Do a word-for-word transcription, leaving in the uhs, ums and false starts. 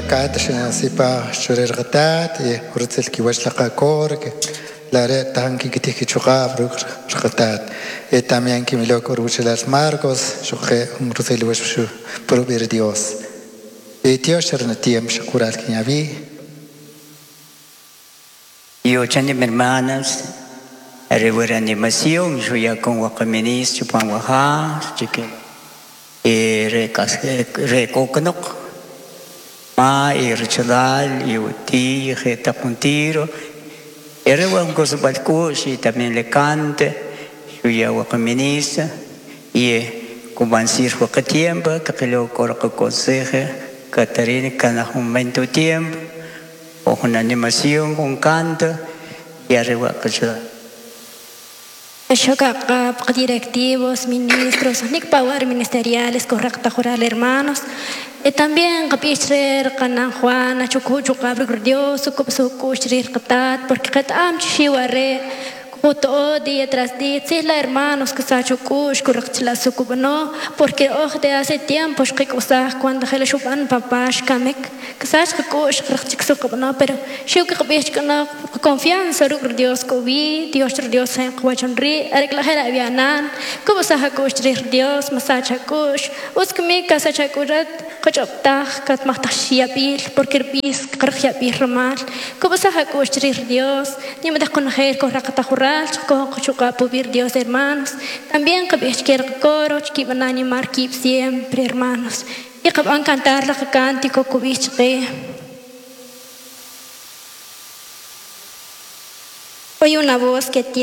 Kat sipa churer qatat y rutzil kiwach la qakor que la re tan kikitij kichuqab ruk rqatat y también kimilok urbuchelal Marcos xoqe un rutzil wach shu purubir Dios y Dios cherna tiempo shakural kinyabi. Yo chani hermanas arewera animación yo ya con waqaminis chupan waja chique re re kokanok ma y rechalal y uti jeta puntiro era un cosa balcos y también le cante yo ya waqaminis y kubansir waqa tiempo que lo corco conseje Catarina cada un momento tiempo o una animación un canto y arriba que Directivos, ministros, power ministeriales, correcta jural hermanos. Y también qapichrer qanan Juana chukuchu qabr Dios sukushrir qatat porque qatam chiware todo día tras día, sí, la hermanos que sa chukush correctla sukubno porque oj de hace tiempo que cosas cuando gele chupan papás kamek que sa chukush correctla pero shiu que qapich no confianza ruk Dios ko vi Dios Dios en kwachonri arregla jera avianan como sa hakush Dios masa chakush uskmi casa chakurat qochoptaj kat mahtashiapil porque bis qarxiapil ramal como sa hakush Dios ni me desconocer correcta jurar Dios hermanos también que coro que van a animar siempre hermanos y que van a cantar la cántico que hoy una voz que tiene